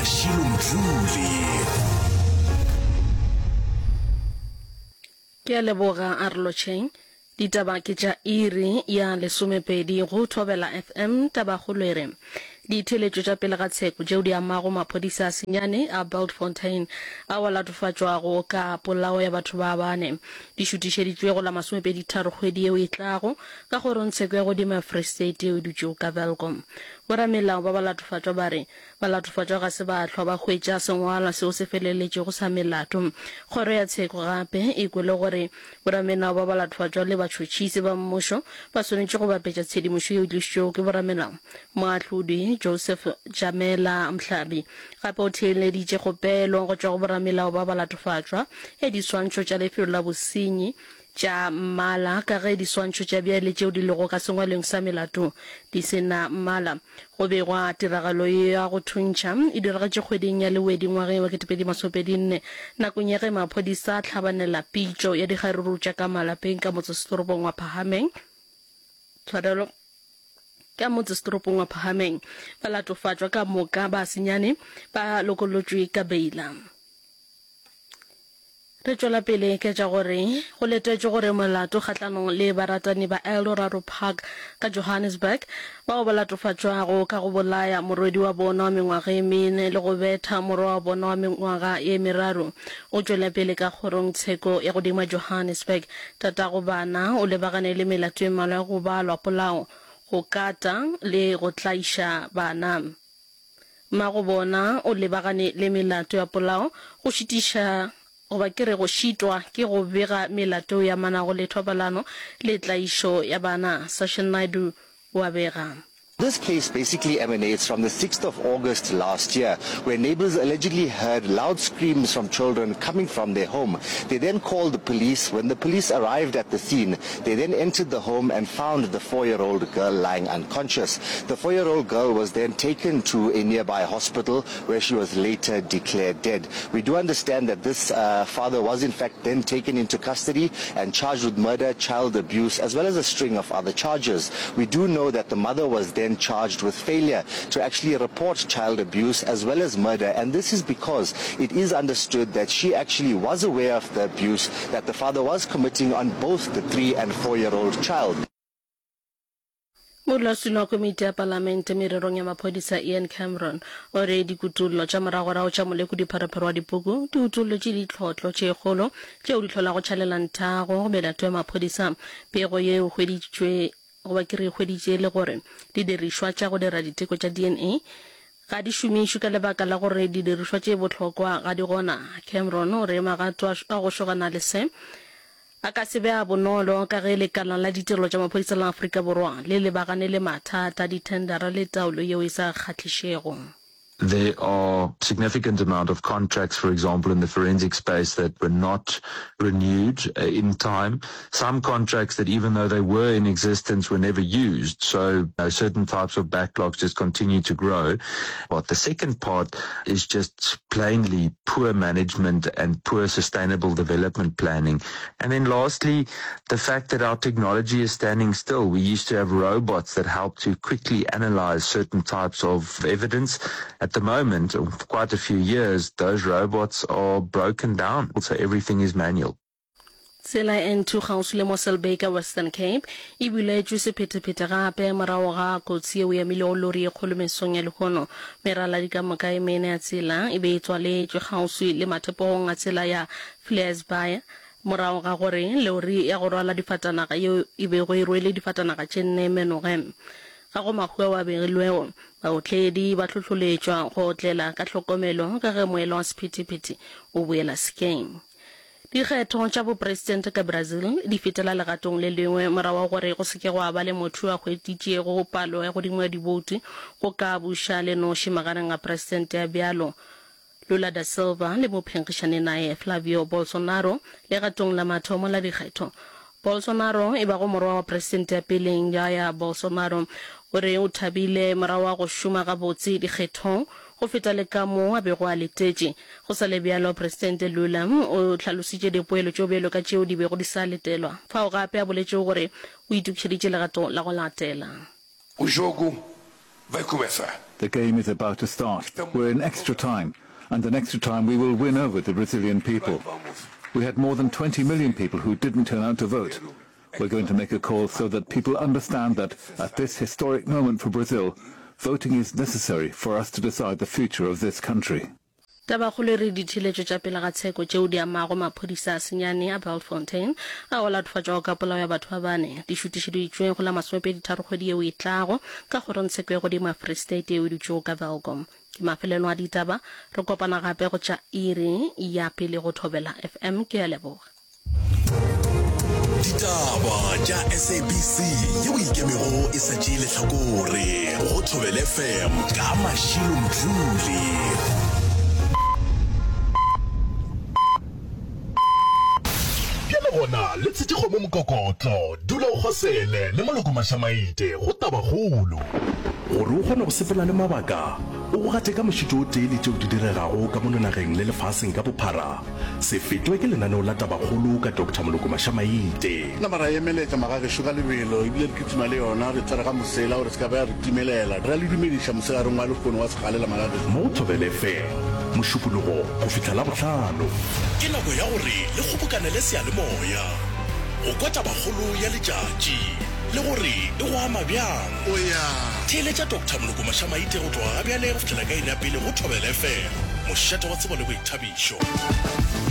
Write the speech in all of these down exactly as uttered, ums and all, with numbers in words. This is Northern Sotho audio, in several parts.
Mashilo Mdluli. Ke a leboga, a re lotšheng. Ditaba ke tša iri ya lesomepedi go Thobela FM. Tabakgolo e re, Ditheeletšo tša pele ga tsheko tšeo di amago maphodisa a senyane a Bultfontein ao a latofatšwago ka polao ya batho ba bane di šutišeditšwe go la masomepedi-tharo kgwedi yeo e tlago ka kgorongtsheko ya godimo ya Free State yeo e dutšego ka Welkom. Boramelao ba balatofatšwa ba re balatofatšwa ga se ba hlwa ba hwetša sengwalwa seo se feleletšego sa melato. Kgoro ya tsheko gape e kwele gore boramelao ba balatofatšwa le batšhotšhisi ba mmušo ba swanetše go bapetša tshedimošo yeo e tlišitšwego ke boramelao. Moahlodi Joseph Jamela Mhlabi gape o theeleditše kgopelo go tšwa go boramelao ba balatofatšwa ya diswantšho tša lefelo la bosenyi tša mmala ka ge diswantšho tša bjale tšeo di lego ka sengwalweng sa melato di se na mmala. Go begwa tiragalo ya go thuntšha e diragetše kgweding ya Lewedi ngwageng wa kete pedi masomepedi nne nakong ya ge maphodisa a hlabanela pitšo ya dikgaruru tša ka malapeng ka motsesetoropong wa Phahameng. Tshwarelo. Ka motsesetoropong wa Phahameng. Balatofatšwa ka moka ba senyane ba lokollotšwe ka beila. Re tšwela pele ka tša gore go letetšwe gore molato kgahlanong le baratani ba Eldorado Park ka Johannesburg bao ba latofatšwago ka go bolaya morwedi wa bona wa mengwaga e mene le go betha morwa wa bona wa mengwaga ye meraro o tšwele pele ka kgorong tsheko ya godimo ya Johannesburg. Tatago bana o lebagane le melato e mmalwa ya go balwa polao, go kata le go tlaiša bana. Mmago bona o lebagane le melato ya polao, go šitiša goba ke re go šitwa ke go bega melato yeo e amanago le thobalano le tlaišo ya bana, Sashin Naidoo o a bega. This case basically emanates from the sixth of August last year, where neighbors allegedly heard loud screams from children coming from their home. They then called the police. When the police arrived at the scene, they then entered the home and found the four-year-old girl lying unconscious. The four-year-old girl was then taken to a nearby hospital where she was later declared dead. We do understand that this, uh, father was in fact then taken into custody and charged with murder, child abuse, as well as a string of other charges. We do know that the mother was then charged with failure to actually report child abuse as well as murder, and this is because it is understood that she actually was aware of the abuse that the father was committing on both the three and four-year-old child. Modulasetulo wa Komiti ya Palamente Mererong ya Maphodisa Ian Cameron o re dikutollo tša moragorago tša molekodi-pharephare wa dipuku di utollotše ditlhotlo tše kgolo tšeo di hlolago tšhalelang-thago go melato ya maphodisa. Pego ye e hweditšwe goba ke re e hweditše e le gore didirišwa tša go dira diteko tša D N A ga di šomišwe ka lebaka la gore didirišwa tše bohlokwa ga di gona. Cameron o re magato a go šogana le se a ka se be a bonolo ka ge lekala la ditirelo tša maphodisa la Afrika Borwa le lebagane le mathata a dithendara le taolo yeo e sa kgahlišego. There are significant amount of contracts, for example, in the forensic space that were not renewed in time. Some contracts that even though they were in existence were never used. So, you know, certain types of backlogs just continue to grow. But the second part is just plainly poor management and poor sustainable development planning. And then lastly, the fact that our technology is standing still. We used to have robots that help to quickly analyze certain types of evidence. At the moment, for quite a few years, those robots are broken down, so everything is manual. Tsela ya N two kgauswi le Mossel Bay ka Western Cape e buletšwe sephetephete gape morago ga kotsi yeo e amilego lori ye kgolo mesong ya lehono. Meraladi ka moka e mene ya tsela e be e tswaletšwe kgauswi le mathepogong a tsela ya Vleesbaai morago ga gore lori ya go rwala difatanaga yeo e bego e rwele difatanaga tše nne e menoge. Ga go mahu ao a begilwego. Baotledi ba hlohloletšwa go otlela ka hlokomelo ka ge moela wa sephethephethe o boela sekeng. Dikgetho tša bopresidente ka Brazil di fetela legatong le lengwe morago ga gore go se ke gwa ba le motho yo a hweditšego palo ya godimo ya diboutu go ka buša le noši magareng ga presidente ya bjalo Lula da Silva le mophenkgišani naye Flavio Bolsonaro legatong la mathomo la dikgetho. Bolsonaro e bago morwa wa presidente ya peleng Jair Bolsonaro o re o thabile morago ga go šoma gabotse dikgethong go feta le kamoo a bego a letetše. Go sa le bjalo, Presidente Lula o hlalositše dipoelo tšeo bjalo ka tšeo di bego di sa letelwa, fao gape a boletšego gore o itokišeditše legato la go latela. O jogo vai começar. The game is about to start. We're in extra time, and in extra time we will win over the Brazilian people. We had more than twenty million people who didn't turn out to vote. We're going to make a call so that people understand that at this historic moment for Brazil, voting is necessary for us to decide the future of this country. Tabakgolo e re ditheeletšo tša pele ga tsheko tšeo di amago maphodisa a senyane a Bultfontein ao a latofatšwago ka polao ya batho ba bane di šutišeditšwe go la masomepedi tharo kgwedi yeo e tlago ka kgorongtsheko ya godimo ya Free State yeo e dutšego ka Welkom. Ke mafelelo a ditaba, re kopana gape go tša iri ya pele go Thobela F M. Ke a leboga. Ditaba tša S A B C yeo ikemego e sa tšee lehlakore go Thobela F M ka Mashilo Mdluli. Bjale gona le tshetše kgomo mokokotlo, dula o kgosele le Moloko Mašamaite go Tabakgolo. Gore o kgone go sepela le mabaka, o go gate ka mošito o tee le tšeo di diregago ka mono nageng le lefaseng ka bophara, se fetwe ke lenaneo la Tabakgolo ka Doctor Moloko Mašamaite. Nama ra emeletša magagešo ka lebelo ebile re kitima le yona, re tswere ga mosela gore se ka ba ya re timelela. Re a le dumediša mosegareng wa lehono wa segalela magagešo. Mo Thobela F M, Mošupologo go fihla Labohlano. Ke nako ya gore le kgobokanele seyalemoya go kwa tabakgolo ya letšatši le gore e go ama bjang. Theeletša Doctor Moloko Mašamaite go tloga gabjale go fihlela ka iri ya pele go Thobela F M, mošate wa tsebo le boithabišo.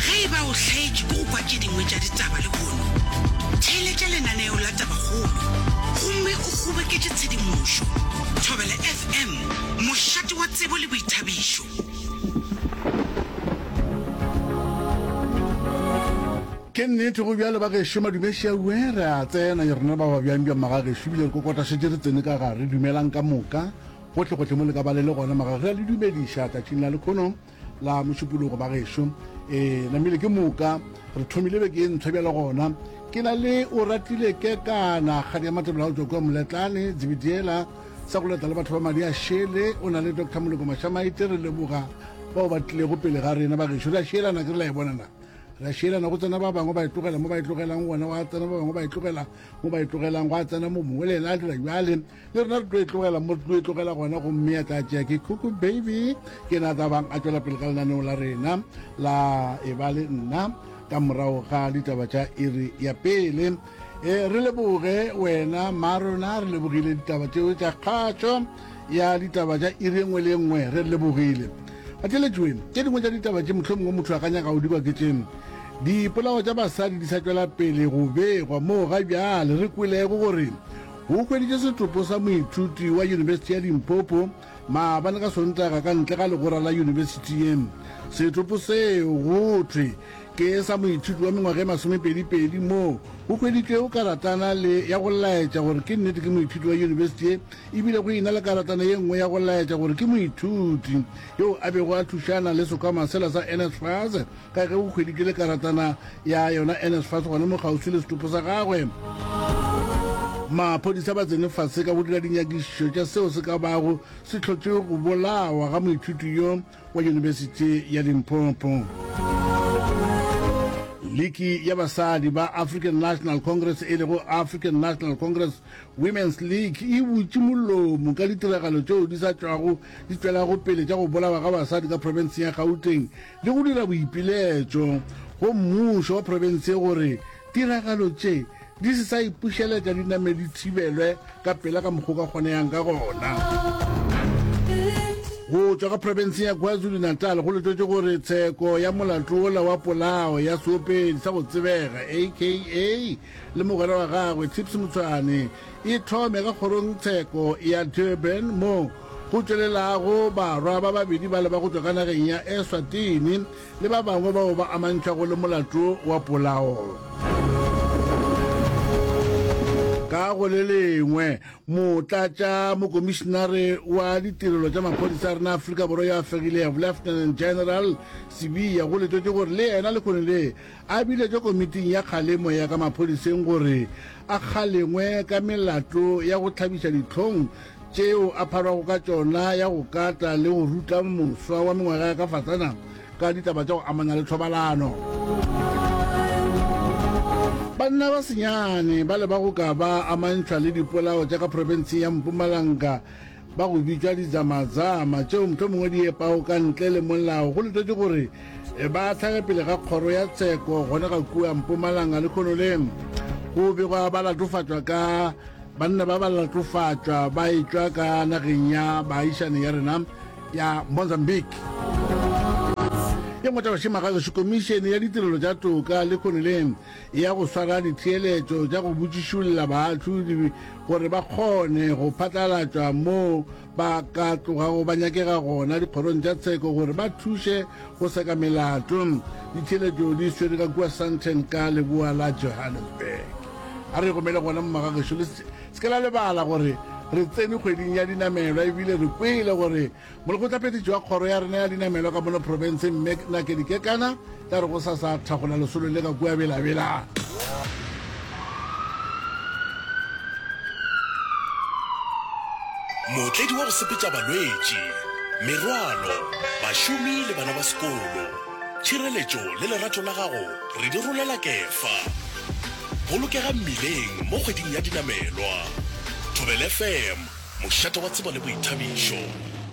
Ge e ba o hlaetšwe ke go kwa tše dingwe tša ditaba lehono, theeletša lenaneo la Tabakgolo gomme o kgoboketše tshedimošo. Thobela F M, mošate wa tsebo le boithabišo. Ke nnete go bjalo ba gešo, madumešiaue, re a tsena rena ba ba bjang bja magagešo ebile re kokota šetše re tsene ka gare. Dumelang ka moka gohle gohle mo le ka ba le le gona magage, re a le dumediša tšatšing la lekhono la Mošupologo ba gešo. E namile ke moka re thomile beke ye ntshwa bjale gona. Ke na le o ratile kekana kgadi ya matebela go tšwa kua Moletlane Zebediela sa go leta le batho ba madi a šele, o na le Doctor Moloko Mašamaite. Re leboga bao ba tlilego pele ga rena ba gešo. Re a šielana, ke re la e bonana, re a šielana go tsena ba bangwe ba e tlogela mo ba e tlogelang gona, wa tsena ba bangwe ba e tlogela mo ba e tlogelang, gwa tsena mo mongwe le ena a dira bjale, le rena re tlo e tlogela mo re tlo e tlogela gona. Gomme ya tla tšea ke Kuku Baby, ke na tla bang a tšwela pele ka lenaneo la rena la e ba le nna ka morago ga ditaba tša iri ya pele. E re leboge wena marona, re lebogile ditaba tšeo tša kgatšo ya ditaba tša iri e nngwe le e nngwe, re lebogile batheletšwe. Tše dingwe tša ditaba tše mohlomongwe motho a ka nyaka go di kwa ke tše: dipolao tša basadi di sa tšwela pele go begwa moo ga bjale re kwelego gore go hweditše setopo sa moithuti wa Yunibesithi ya Limpopo maabane ka Sontaga ka ntle ga legora la yunibesithi ye. Setopo seo go thwe ke sa moithuti wa mengwaga e masomepedipedi, moo go hweditšwego karatana le ya go laetša gore ke nnete ke moithuti wa yunibesithi ye, ebile go ena le karatana ye nngwe ya go laetša gore ke moithuti yo a bego a thušana le sekhwama sela sa N S F A S, ka ge go hweditšwe le karatana ya yona N S F A S gona mo kgauswi le setopo sa gagwe. Maphodisa ba tsene fase ka go dira dinyakišišo tša seo se ka bago se hlotše go bolawa ga moithuti yo wa Yunibesithi ya Limpopo. Liki ya basadi ba African National Congress, e lego African National Congress Women's League, e butše molomo ka ditiragalo tšeo di sa tšwago di tšwelago pele tša go bolawa ga basadi ka profenseng ya Gauteng, le go dira boipiletšo go mmušo wa profense gore tiragalo tše di se sa ipušeletša, di name di thibelwe ka pela ka mokgwa ka kgoneyang ka gona. Go tšwa ka profenseng ya KwaZulu-Natal go letetše gore tsheko ya molato wola wa polao ya seopedi sa go tsebega A K A le mogwera wa gagwe Tips Motshwane e thome ka kgorong tsheko ya Durban, mo go tšwelelago barwa ba babedi ba le ba go tšwa ka nageng ya Eswatini le ba bangwe bao ba amantšhwago le molato wa polao. Ka go le lengwe, motlatša mokomišenare wa ditirelo tša maphodisa a rena Afrika Borwa yo a fegilego, Lieutenant General Sibiya, go letetše gore le yena lekgone le a biletšwe komiting ya kgalemo ya ka maphodiseng gore a kgalengwe ka melato ya go hlabiša dihlong tšeo a pharwago ka tšona ya go kata le go ruta moswa wa mengwaga ya ka fasana ka ditaba tša go amana le thobalano. Banna ba senyane ba le ba go ka ba amantšhwa le dipolao tša ka profenseng ya Mpumalanga ba go bitšwa dizamazama tšeo mohlomongwe di epago ka ntle le molao go letetše gore ba hlage pele ga kgoro ya tsheko gona ga kua Mpumalanga lekhono le go begwa ba latofatšwa ka banna ba ba latofatšwa ba etšwa ka nageng ya baagišane ya rena ya Mozambique. Ye nngwe taba šema gagešo Komišene ya Ditirelo tša Toka lekhono le ya go swara ditheeletšo tša go botšišolla baahlodi gore ba kgone go phatlalatšwa moo ba ka tlogago ba nyakega gona dikgorong tša tsheko gore ba thuše go seka melato. Ditheeletšo di swere ka kua Sandton ka leboa la Johannesburg. A re gomele gona mo magagešo, le se ke la lebala gore re tsene kgweding ya dinamelwa ebile re kwele gore Molekgotlaphethiši wa kgoro ya rena ya dinamelwa ka mono profenseng Mme Nakedi Kekana tla re gosasa thagola lesolo le ka kua Bela-Bela. Mootledi wa go sepetša balwetši, merwalo, bašomi le bana ba sekolo. Tšhireletšo le lerato la gago re di rolela kefa. Bolokega mmileng mo kgweding ya dinamelwa. Thobela FM, mošate wa tsebo le boithabišo.